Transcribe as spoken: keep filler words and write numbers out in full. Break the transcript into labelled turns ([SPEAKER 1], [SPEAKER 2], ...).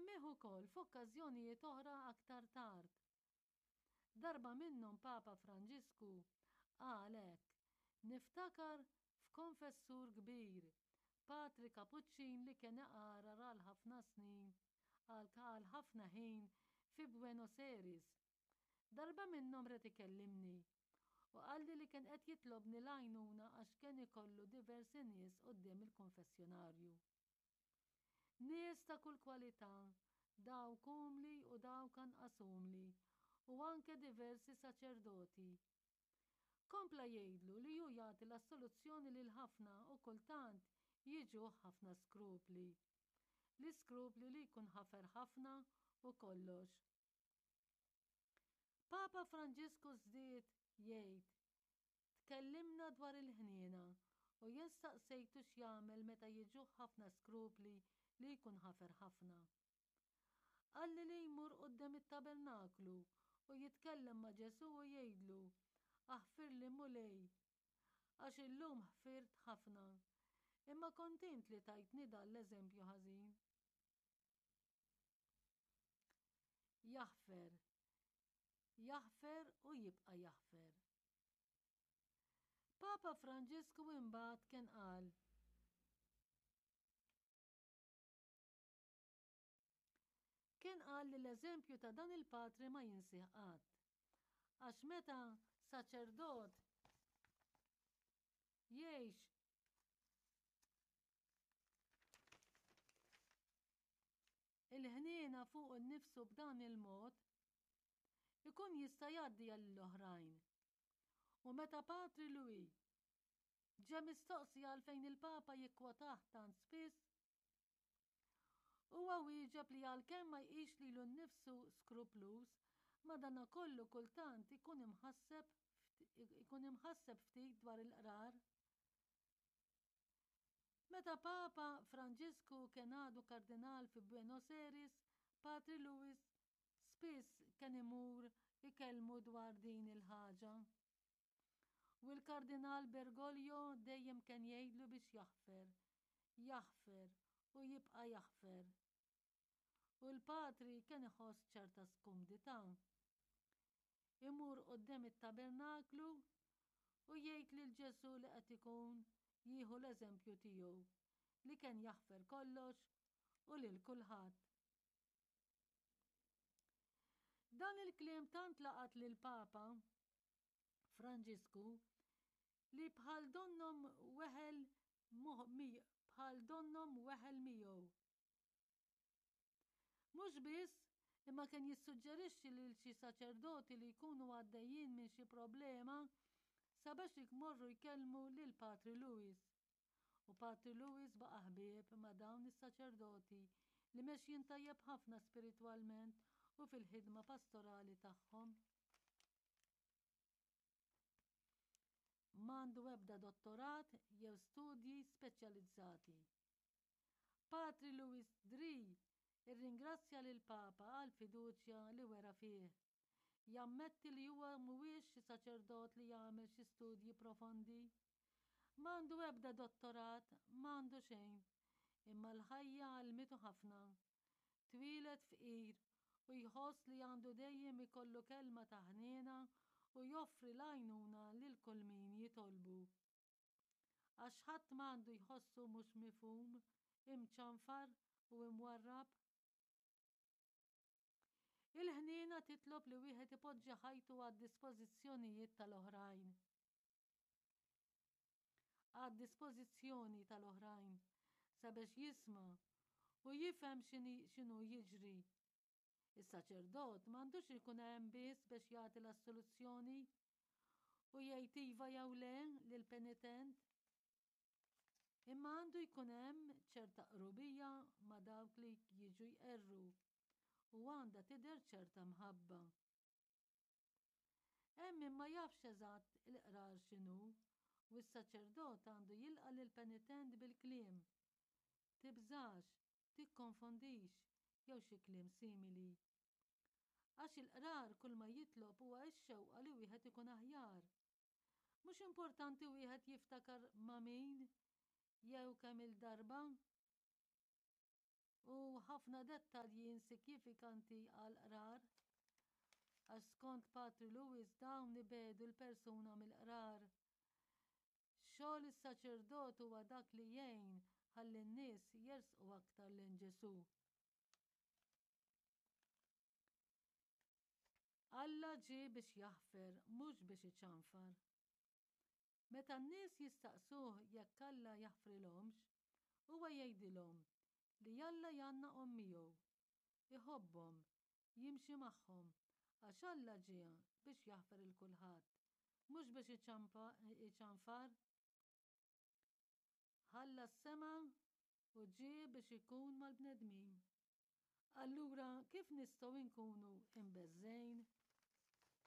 [SPEAKER 1] Semmieh ukoll f'okkażjonijiet oħra aktar tard. Darba minnhom Papa Franġisku qal hekk, Niftakar f'konfessur kbir, Patri Kapuċċin li kien iqarar għal ħafna snin, għal ħafna ħin fi Buenos Aires. Darba minnhom ried ikellimni u qalli li kien qed jitlobni l-għajnuna għax kien ikollu diversi nies quddiem il-konfessjonarju. Nies ta' kull kwalità, dawk umli u dawk anqas umli, u anke diversi saċerdoti. Kompla jgħidlu li hu jagħti l-assoluzzjoni lil ħafna u kultant jiġuh ħafna skrupli. L-iskrupli li jkun ħafer ħafna u kollox. Papa Franġisku żdied jgħid, Tkellimna dwar il-ħniena u jien staqsejtu x'jagħmel meta jiġuh ħafna skrupli li jkun ħafer ħafna. Qalli li jmur quddiem it-tabernaklu u jitkellem ma' Ġesù u jgħidlu, Aħfirli Mulej, għax illum ħfirt ħafna, imma kont int li tajtni dan l-eżempju ħażin. Jaħfer. Jaħfer u jibqa' jaħfer. Papa Franġisku imbagħad kien qal Kien qal li l-eżempju ta' dan il-patri ma jinsih qatt. Għax meta saċerdot jgħix il-ħniena fuq innifsu b'dan il-mod, ikun jista' jgħaddi għall-oħrajn. U meta Patri Louis ġe mistoqsi għalfejn il-Papa jikkwotah tant spiss, huwa wieġeb li għalkemm ma jqisx lilu nnifsu skrupluż, madanakollu kultant ikun imħasseb ikun imħasseb ftit dwar il-qrar. Meta Papa Franġisku kien għadu kardinal fi Buenos Aires, Patri Louis spiss kien imur ikellmu dwar din il-ħaġa. U l-Kardinal Bergoglio dejjem kien jgħidlu biex jaħfer, jaħfer u jibqa' jaħfer. U l-patri kien iħoss ċerta skumdità. Imur quddiem it-tabernaklu u jgħid lil Ġesù li qed ikun jieħu l-eżempju tiegħu li kien jaħfer kollox u lil kulħadd. Dan il-kliem tant laqat lil Papa Franġisku li bħal donnhom weħel bħal donnhom weħel miegħu. Mhux biss, imma kien jissuġġerixxi lil xi saċerdoti li jkunu għaddejjin minn xi problema sabiex jmorru jkellmu lil Patri Louis. U Patri Louis baqa' ħbieb ma' dawn is-saċerdoti li mexjin tajjeb ħafna spiritwalment u fil-ħidma pastorali tagħhom. M'għandu ebda dottorat jew studji speċjalizzati. Patri Louis Dri rringrazzja lill-Papa għall-fiduċja li wera fih. Jammetti li huwa mhuwiex xi saċerdot li jagħmel xi studji profondi. M'għandu ebda dottorat, m'għandu xejn. Imma l-ħajja għallmitu ħafna. Twieled fqir u jħoss li għandu dejjem ikollu kelma ta' ħniena u joffri l-għajnuna lil kull min jitolbu. Għax ħadd m'għandu jħossu mhux mifhum, imċanfar u imwarrab. Il-ħniena titlob li wieħed ipoġġi ħajtu għad-dispożizzjonijiet tal-oħrajn. Għad-dispożizzjoni tal-oħrajn sabiex jisma' u jifhem x'inhu jiġri. Is-saċerdot m'għandux ikun hemm biss biex jagħti l-assoluzzjoni u jgħid iva jew le lill-penitent. Imma għandu jkun hemm ċerta qrubija ma' dawk li jiġu jqerru u għandha tidher ċerta mħabba. Hemm min ma jafx eżatt il-qrar x'inhu u s-saċerdot għandu jilqa' lill-penitent bil-kliem, Tibżax, tikkonfondix jew xi kliem simili. Għax il-qrar kulma jitlob huwa x-xewqa li wieħed ikun aħjar. Mhux importanti wieħed jiftakar ma' min jew kemm-il darba. u ħafna dettalji insikjifikanti għall-qrar. Għax skont Patri Louis dawn ibegħdu l-persuna mill-qrar. Xogħol is-saċerdot huwa dak li jgħin ħalli n-nies jersqu aktar lejn Ġesù. Alla ġie biex jaħfer, mhux biex iċanfar. Meta n-nies jistaqsuh jekk Alla jaħfrilhomx, huwa jgħidilhom li Alla jgħannaqhom miegħu, iħobbhom, jimxi magħhom, għax Alla ġie biex jaħfer 'il kulħadd, mhux biex iċanfar. Ħalla s-sema u ġie biex ikun mal-bnedmin. Allura kif nistgħu nkunu imbeżżgħin?